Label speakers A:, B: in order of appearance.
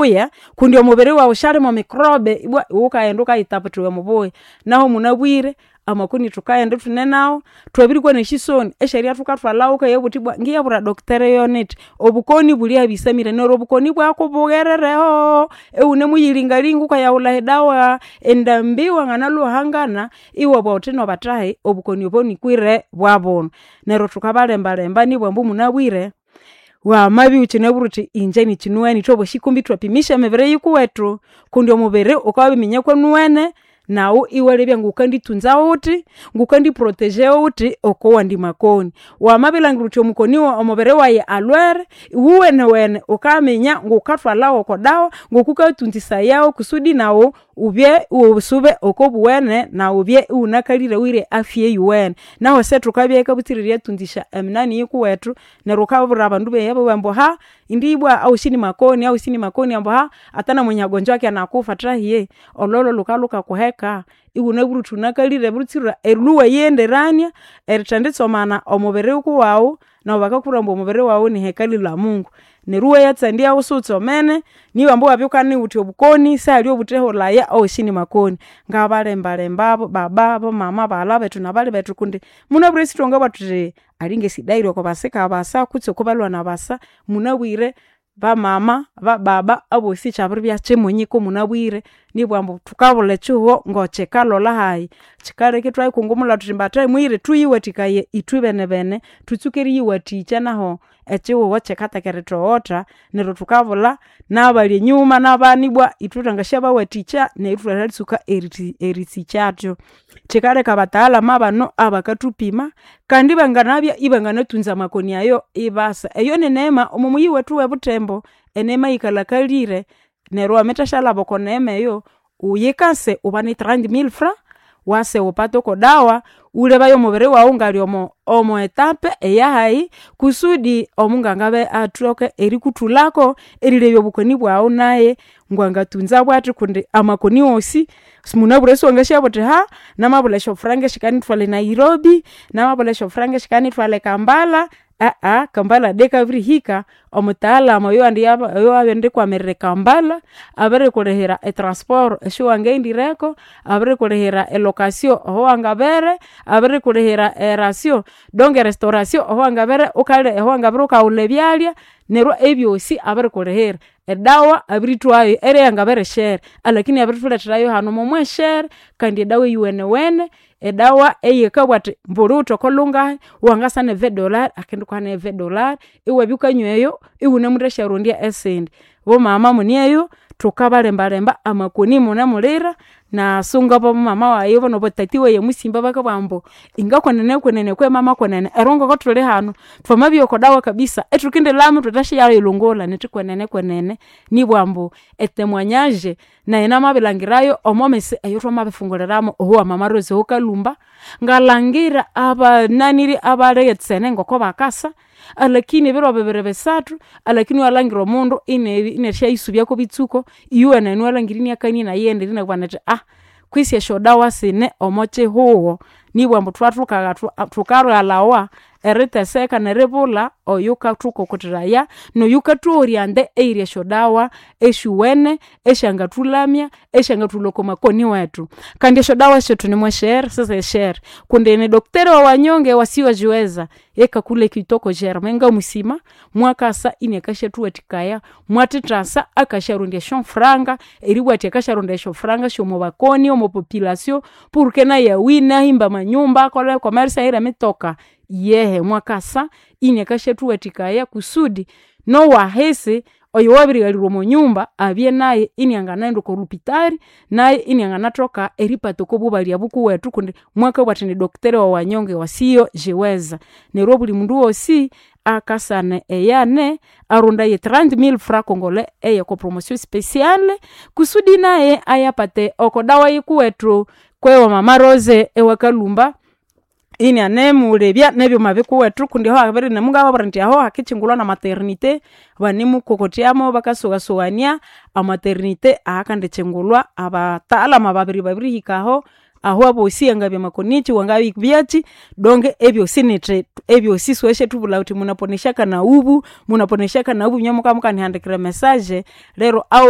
A: Buya kundi omubiri wawu syali mo microbe ibwa iwukaghenda wukayitaputha iwe mubuya. Nahu munabwire amakoni thukaghenda ithune nawu, thwabirikwa nesyisoni esyeribya thukathwalhawu wukayabugha wuthi ibwa ngiyabwira doctor yonithi obukoni buli aha bisamire neryo obukoni ibwakubugherereho iwunemuyilingalinga wukayawulha edawa endambi wanganalhwa hangana iwabugha wuthi nobathahi obukoni obo nikwire bwabunu. Neryo thukabalembalemba nibwa ambu munabwire wamabya iwukyinabwire wuthi ingye nikyinowene ithwabosi kumbe ithwapimisya emibiri yikuwethu kundi omubiri wukabya wabiriminya kwaniwene naghu iwalebya ngukanditunza wuthi, ngukandi proteger wuthi okowandi makoni. Wamabirilhangira wuthi omukoni omubiri wayi alhwere, iwuwenewene wukaminya ngukathwalha wokodawa ngokukayatunzisayawu kusudi naghu wubye iwusube okobuwene naghu wubye iwunakalire wuhire afya eyuwene. Nahu ise thukabya butsira eriyatunzisya eminani yikuwethu neryo wukabwira abandu beya babugha ambu indi ibwa awosi nimakoni awosi nimakoni ambu hata namwenye hagonjwaki anakufa thahiye olhwalhwa lhukalhukakuheka iwunabwire wuthi wunakalire butsira erilhwa iwayighenderania erithenditsomana omubiri wukuwaghu neryo bakakubwira ambu omubiri wawu ni hekalu lya mungu. Neryo iwayatsandyaghu siwutsomene nibwa ambu iwabya wukanigha wuthi obukoni sihali obutheholhaya awosi nimakoni. Ngabalembalembabu baba, bamama, baghalha bethu nabali bethu kundi munabwire sithwangabugha thuthi alingesida yiri okobasika basa kutse okobalhwana basa, munabwire bamama, bababa abosi kyabiribya kyimunyiku munabwire nibwa ambu thukabulha ekyihugho ngokyikalholha hayi. Kyikaleka ithwayikungumulha thuthi mbathahi muyire thuyiwathikaye ithwibenebene thutsuke eriyiwathikya nahu ekyihugho kyikathoka erithogotha neryo thukabulha nabali enyuma nabana ibwa ithwe thwangasyabawathikya neryo ithwathatsuka erisikyathu. Kyikaleka abataalhamu abano abakathupima kandi ibanganabya ibanganatunza amakoni ayo ibasa. Eyo nineema omomuyi wethu owebuthembo eneema eyikalhakalire neryo wamathasyalhaba oko neema eyo, wuyikase wubane 30000 francs wase wupate okodawa wulebaye omubiri wawu ngali omo omo etape eyahayi kusudi omunganga abe athoke erikuthulhako erilebya obukoni bwawu naye ngwangatunza bwathi kundi amakoni wosi simunabwire siwangasyabugha wuthi namabulha esyofuranga esyikanithwalha e Nairobi, namabulha esyofuranga esyikanithwalha e Kambala, Kambala de kabirihika omutaalhamu oyowabirindikwamirira e Kambala abirikulhihira e transport esyawangaghendireko, abirikulhihira e location ahawangabere, abirikulhihira e ration donc e restauration ahawangabere wukalya ahawangabere wukawulha ebyalya neryo ebyosi abirikulhihira. Edawa abirithwayu erya yangabere shere alakini abirithuletherayu hanu momweshere kandi edawa eyuwenewene, edawa eyikabugha athi mbuli wuwithe okolhungahi wangasa ne 20 dollars akendikuha ne 20 dollars iwabya wukanywa eyo iwunemuthasyarondya esindi. Bomama muneyo thukabalembalemba amakoni munemulira nasunga bomama wayi nabatati wayi omusimba bakabugha ambu ingakwenene kwe mama kwenene eryo ngokuthuli hanu thwamabyowa okodawa kabisa ithukindilhama ithwathasyayilhungulha nithi kwenene kwenene nibwa ambu e témoignage nayi namabilhangirayo omomisi eyathwamabifunguliramu oho mama Rose owokalhumba, ngalhangira abananiri abalighetsene ngokubakasa alakini ebiro bibiri bisathu alakini iwalhangira omundu inerisyayisubyako bitsuko iyuwenene iwalhangira inakania inayighendera inabugha nethi kwisi esyodawa sine omokyihugho nibwa ambu thwathu thukalhalawa eriteseka neribulha oyukathukokotheraya noyukathughorya ande eyiri esyodawa esyuwene esyangathulamya esyangathulhwa okwamakoni wethu. Kandi esyodawa syethu nimweshere sisishere kundi ni doctor wa wanyonge wasiojiweza ye kakule kitoko germain ngamusima mwakasa inakasyathuwathikaya mwathithasa akasyarondya esyofuranga eribugha athi akasyarondaya esyofuranga syomwabakoni omo population porque naye awine ahimbe amanyumba akole commerce ahire emitoka, yehe mwakasa inakasyathuwathikaya kusudi nowahisi oyowabirighalirwa omwanyumba abye naye inianganaghenda okolhupitali naye inianganathoka eripata okobubalya bukuwethu kundi mwakabugha athi ni doctor wa wanyonge wasiyojiweza. Neryo obuli mundu wosi akasana eyane arondaye 30000 francs congolais eyoko promotion speciale kusudi naye ayapate okodawa yikuwethu kwewa mama Rose ewakalhumba inianemulebya nebyuma bikuwethu kundi aho mungababwira indi aho hakikyingulwa na maternité banemukokothyamu bakasoghasoghania amaternité ahakandikyingulwa abataalhamu ababiri babirihikaho. Aho abosi angabya makonichi, wangabyachi donge ebyosi nithi ebyosi siwasyathubulha wuthi munaponeshaka na ubu, munaponeshaka na ubu inye muka mukanihandikira emessage lero awosi.